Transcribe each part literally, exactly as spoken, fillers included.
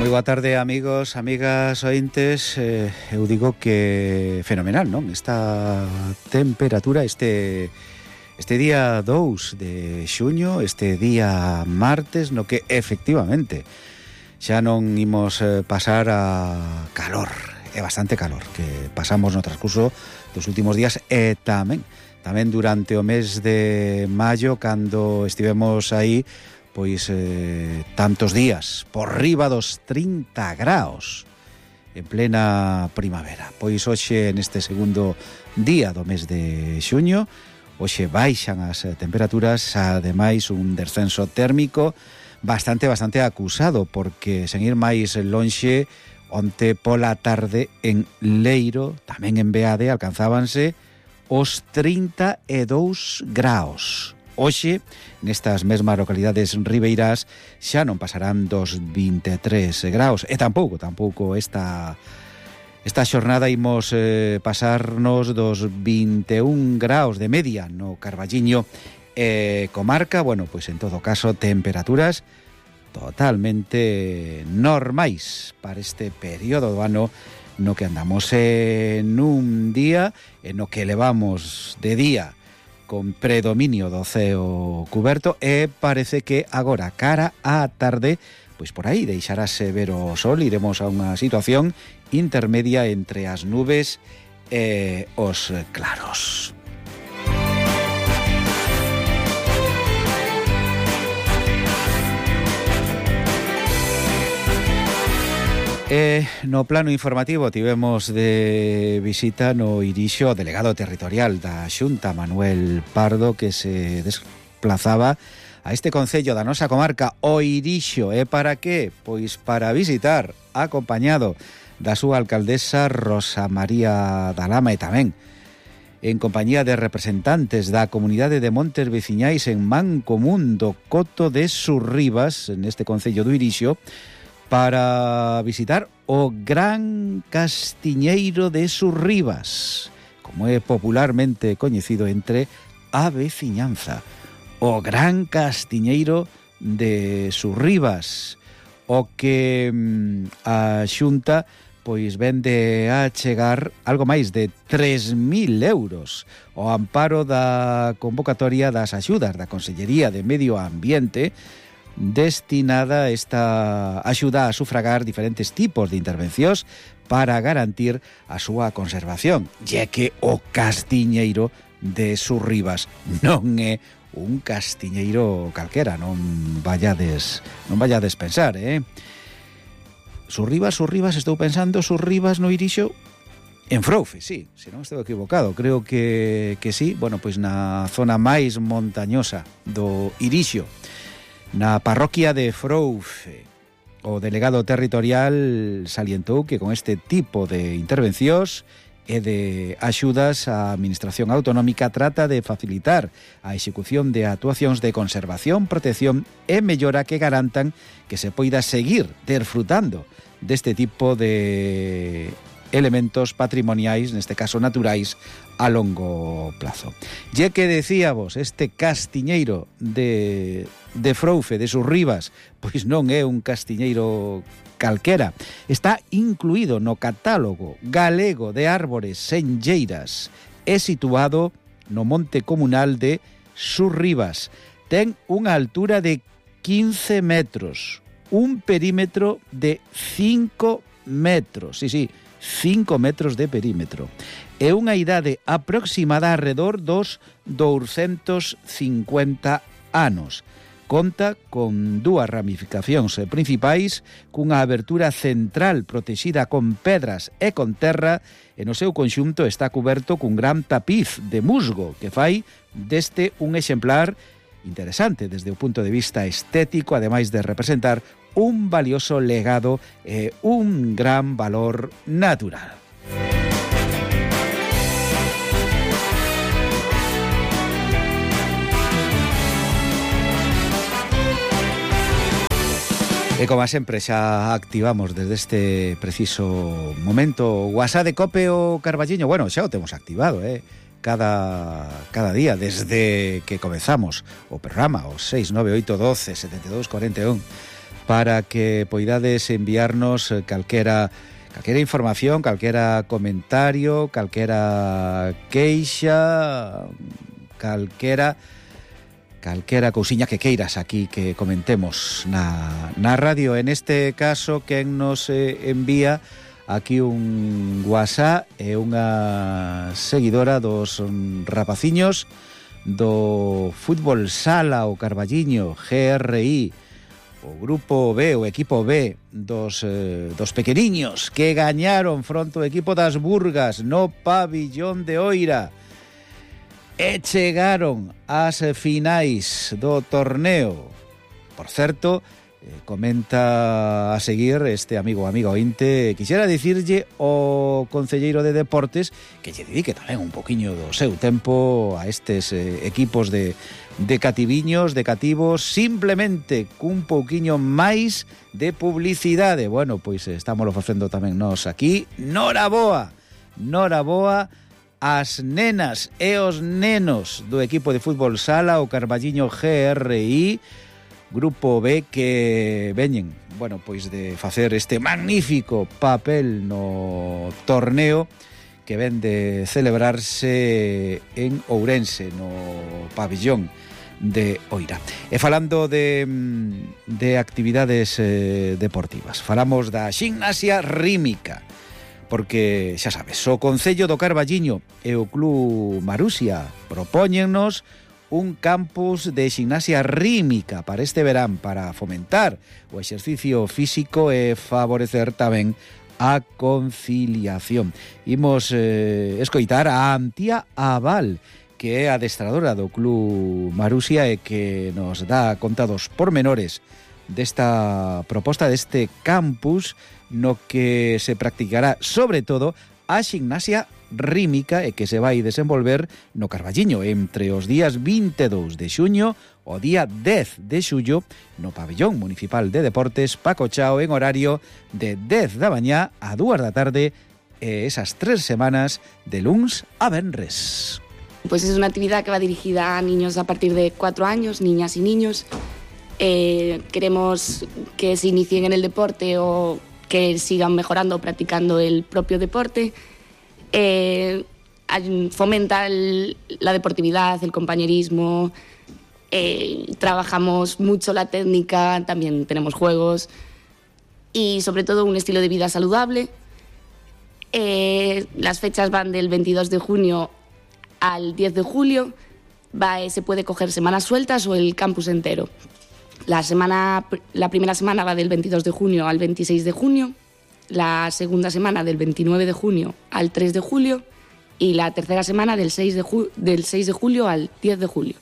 Moi boa tarde, amigos, amigas, ointes. eh, Eu digo que fenomenal, non? Esta temperatura, este este día dous de xuño, este día martes, no que efectivamente xa non imos eh, pasar a calor, é bastante calor que pasamos no transcurso dos últimos días, e tamén tamén durante o mes de maio, cando estivemos aí pois eh, tantos días por riba dos trinta graus en plena primavera. Pois hoxe, neste segundo día do mes de xuño, hoxe baixan as temperaturas, ademais un descenso térmico bastante, bastante acusado, porque sen ir máis lonxe, onte pola tarde en Leiro, tamén en Beade, alcanzábanse os trinta e dous graus. Hoxe, nestas mesmas localidades ribeirás, xa non pasarán dos vinte e tres graus, e tampouco, tampouco esta, esta xornada imos eh, pasarnos dos vinte e un graus de media no Carballiño e eh, comarca. Bueno, pois en todo caso, temperaturas totalmente normais para este período do ano no que andamos en un día, en no que levamos de día con predominio do ceo cuberto, e parece que agora, cara á tarde, pois por aí deixarase ver o sol. Iremos a unha situación intermedia entre as nubes e os claros. E no plano informativo tivemos de visita no Irixo o delegado territorial da Xunta, Manuel Pardo, que se desplazaba a este concello da nosa comarca, o Irixo. E para que? Pois para visitar, acompañado da súa alcaldesa Rosa María da Lama, e tamén en compañía de representantes da comunidade de montes veciñais en Mancomún do Coto de Surribas, neste concello do Irixo, para visitar o Gran Castiñeiro de Surribas, como é popularmente coñecido entre a veciñanza. O Gran Castiñeiro de Surribas, o que mm, a Xunta pois vende a chegar algo máis de tres mil euros ao amparo da convocatoria das axudas da Consellería de Medio Ambiente, destinada esta axuda a sufragar diferentes tipos de intervencións para garantir a súa conservación, ya que o Castiñeiro de Surribas non é un castiñeiro calquera, non vallades, non vallades pensar, eh? Surribas, Surribas, estou pensando, Surribas no Irixo, en Froufe, sí, se non estou equivocado, creo que, que sí, bueno, pois na zona máis montañosa do Irixo, na parroquia de Froufe. O delegado territorial salientou que con este tipo de intervencións e de axudas a Administración Autonómica trata de facilitar a execución de actuacións de conservación, protección e mellora que garantan que se poida seguir desfrutando deste tipo de elementos patrimoniais, neste caso naturais, a longo plazo. Ya que decíamos, este castiñeiro de, de Froufe, de Surribas, pois non é un castiñeiro calquera. Está incluído no catálogo galego de árbores senlleiras. É situado no monte comunal de Surribas. Ten unha altura de quince metros, un perímetro de cinco metros. Sí, sí, cinco metros de perímetro, e unha idade aproximada alrededor dos douscentos cincuenta anos. Conta con dúas ramificacións principais, cunha abertura central protexida con pedras e con terra, e no seu conxunto está coberto cun gran tapiz de musgo que fai deste un exemplar interesante desde o punto de vista estético, ademais de representar un valioso legado e un gran valor natural. E como sempre xa activamos desde este preciso momento o WhatsApp de Cope o Carballiño. Bueno, xa o temos activado, eh? Cada, cada día desde que comezamos o programa, o seis nove oito doce setenta e dous cuarenta e un. para que poidades enviarnos calquera calquera información, calquera comentario, calquera queixa, calquera calquera cousiña que queiras aquí que comentemos na, na radio. En este caso, quen nos eh, envía aquí un WhatsApp é unha seguidora dos rapaciños do fútbol sala o Carballiño G R I, o grupo B, o equipo B dos, eh, dos pequeniños que gañaron fronte ao equipo das Burgas no pabillón de Oira e chegaron ás finais do torneo. Por certo, eh, comenta a seguir este amigo amigo ointe, quixera dicirlle o concelleiro de Deportes que lle dedique tamén un poquiño do seu tempo a estes eh, equipos de, de cativiños, de cativos, simplemente cun pouquiño máis de publicidade. Bueno, pois estamos facendo tamén nós aquí. Nora boa, nora boa as nenas e os nenos do equipo de fútbol sala o Carballiño G R I, grupo B, que veñen, bueno, pois de facer este magnífico papel no torneo que ven de celebrarse en Ourense, no pabillón de Oira. E falando de, de actividades eh, deportivas, falamos da ximnasia rítmica, porque, xa sabes, o Concello do Carballiño e o Club Marusia propóñennos un campus de ximnasia rítmica para este verán, para fomentar o exercicio físico e favorecer tamén a conciliación. Imos eh, escoitar a Antía Aval, que é adestradora do Club Marusia e que nos dá conta dos pormenores desta proposta, deste campus, no que se practicará sobre todo a ximnasia rítmica e que se vai desenvolver no Carballiño entre os días vinte e dous de xuño o día dez de xullo no pabillón municipal de deportes Paco Chao, en horario de dez da mañá a dúas da tarde, e esas tres semanas de luns a venres. Pues es una actividad que va dirigida a niños a partir de cuatro años, niñas y niños. Eh, queremos que se inicien en el deporte o que sigan mejorando, practicando el propio deporte. Eh, fomenta el, la deportividad, el compañerismo, eh, trabajamos mucho la técnica, también tenemos juegos y sobre todo un estilo de vida saludable. Eh, las fechas van del veintidós de junio al diez de julio, va, se puede coger semanas sueltas o el campus entero. La, semana, la primera semana va del veintidós de junio al veintiséis de junio, la segunda semana del veintinueve de junio al tres de julio y la tercera semana del seis de, ju- del seis de julio al diez de julio.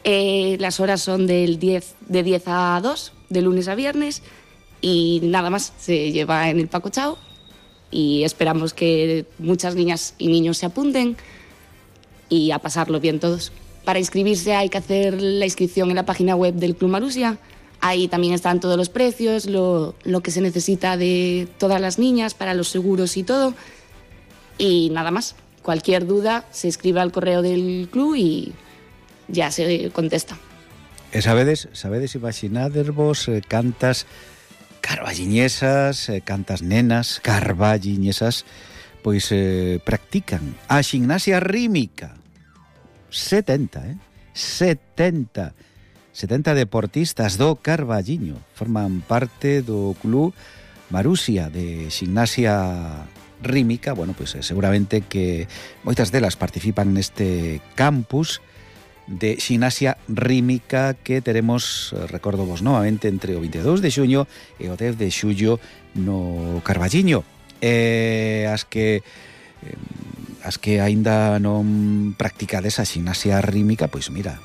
Eh, las horas son del diez, de diez a dos, de lunes a viernes, y nada más, se lleva en el Paco Chao y esperamos que muchas niñas y niños se apunten y a pasarlo bien todos. Para inscribirse hay que hacer la inscripción en la página web del Club Marusia. Ahí también están todos los precios, lo, lo que se necesita de todas las niñas para los seguros y todo. Y nada más, cualquier duda se escribe al correo del club y ya se contesta. E sabedes, sabedes imaginadevos eh, cantas carballiñesas, eh, cantas nenas carballiñesas, pois eh, practican a ximnasia rítmica. setenta, eh? setenta. setenta deportistas do Carballiño forman parte do Club Marusia de ximnasia rítmica. Bueno, pois eh, seguramente que moitas delas participan neste campus de ximnasia rítmica que teremos, recordo vos novamente, entre o veintidós de xuño e o dez de xullo no Carballiño. E as que eh, as que aínda non practicades a ximnasia rítmica, pois mira,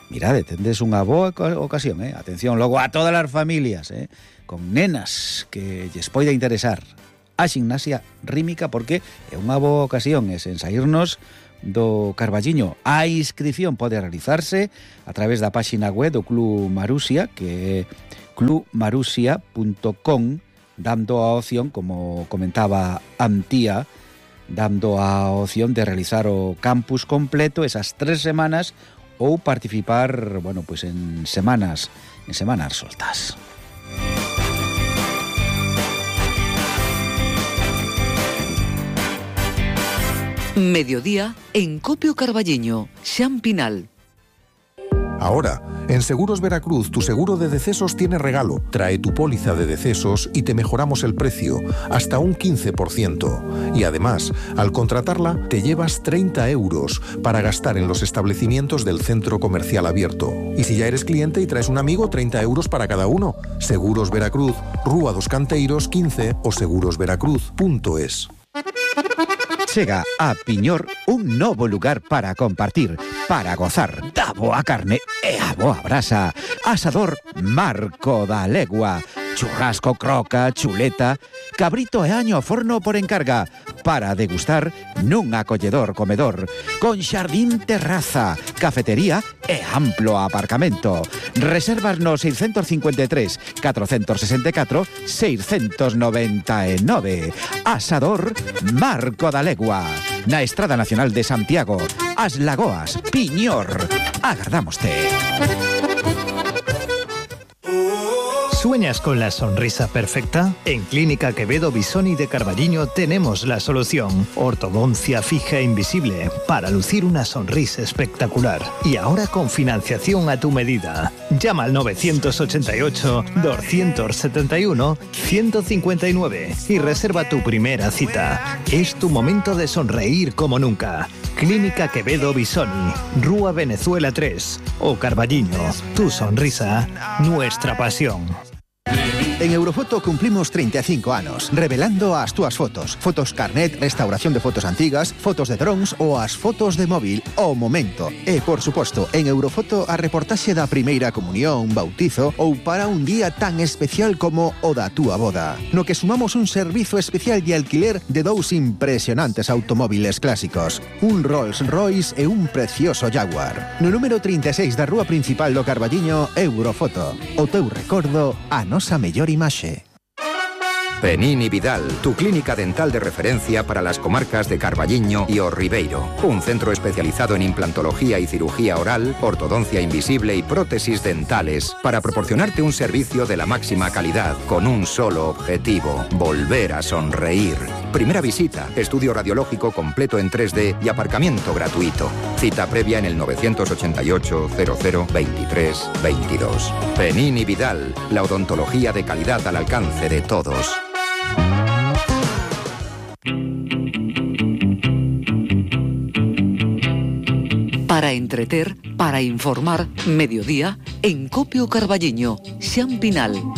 mirade, tendes unha boa ocasión, eh? Atención, logo a todas as familias, eh? Con nenas que lles poida interesar a ximnasia rítmica, porque é unha boa ocasión, é sen saírnos do Carballiño. A inscripción pode realizarse a través da páxina web do Club Marusia, que é club marusia punto com, dando a opción, como comentaba Antía, dando a opción de realizar o campus completo esas tres semanas ou participar, bueno, pues en semanas, en semanas soltas. Mediodía en Copio Carballiño, Xan Pinal. Ahora, en Seguros Veracruz, tu seguro de decesos tiene regalo. Trae tu póliza de decesos y te mejoramos el precio, hasta un quince por ciento. Y además, al contratarla, te llevas treinta euros para gastar en los establecimientos del centro comercial abierto. Y si ya eres cliente y traes un amigo, treinta euros para cada uno. Seguros Veracruz, Rúa dos Canteiros quince o seguros veracruz punto es. Chega a Piñor un novo lugar para compartir, para gozar da boa carne e a boa brasa. Asador Marco da Legua. Churrasco, croca, chuleta, cabrito e año ao forno por encarga, para degustar nun acolledor comedor, con xardín terraza, cafetería e amplo aparcamento. Reservas no seiscentos cincuenta e tres, catrocentos sesenta e catro, seiscentos noventa e nove. Asador Marco da Legua, na Estrada Nacional de Santiago, As Lagoas, Piñor. Agardámoste. ¿Sueñas con la sonrisa perfecta? En Clínica Quevedo Bisoni de Carballiño tenemos la solución. Ortodoncia fija e invisible para lucir una sonrisa espectacular. Y ahora con financiación a tu medida. Llama al nueve ocho ocho, dos siete uno, uno cinco nueve y reserva tu primera cita. Es tu momento de sonreír como nunca. Clínica Quevedo Bisoni, Rúa Venezuela tres o Carballiño. Tu sonrisa, nuestra pasión. En Eurofoto cumplimos treinta e cinco anos, revelando as túas fotos. Fotos carnet, restauración de fotos antigas, fotos de drones ou as fotos de móvil ao momento. E, por suposto, en Eurofoto a reportaxe da primeira comunión, bautizo ou para un día tan especial como o da túa boda. No que sumamos un servizo especial de alquiler de dous impresionantes automóviles clásicos. Un Rolls Royce e un precioso Jaguar. No número trinta e seis da rúa principal do Carballiño, Eurofoto. O teu recordo, a nosa mellor imaxe. Penini Vidal, tu clínica dental de referencia para las comarcas de Carballiño y O Ribeiro. Un centro especializado en implantología y cirugía oral, ortodoncia invisible y prótesis dentales para proporcionarte un servicio de la máxima calidad con un solo objetivo: volver a sonreír. Primera visita, estudio radiológico completo en tres D y aparcamiento gratuito. Cita previa en el nueve ocho ocho, cero cero, veintitrés, veintidós. Penini Vidal, la odontología de calidad al alcance de todos. Para entreter, para informar, mediodía en Copio Carballiño, Xan Pinal.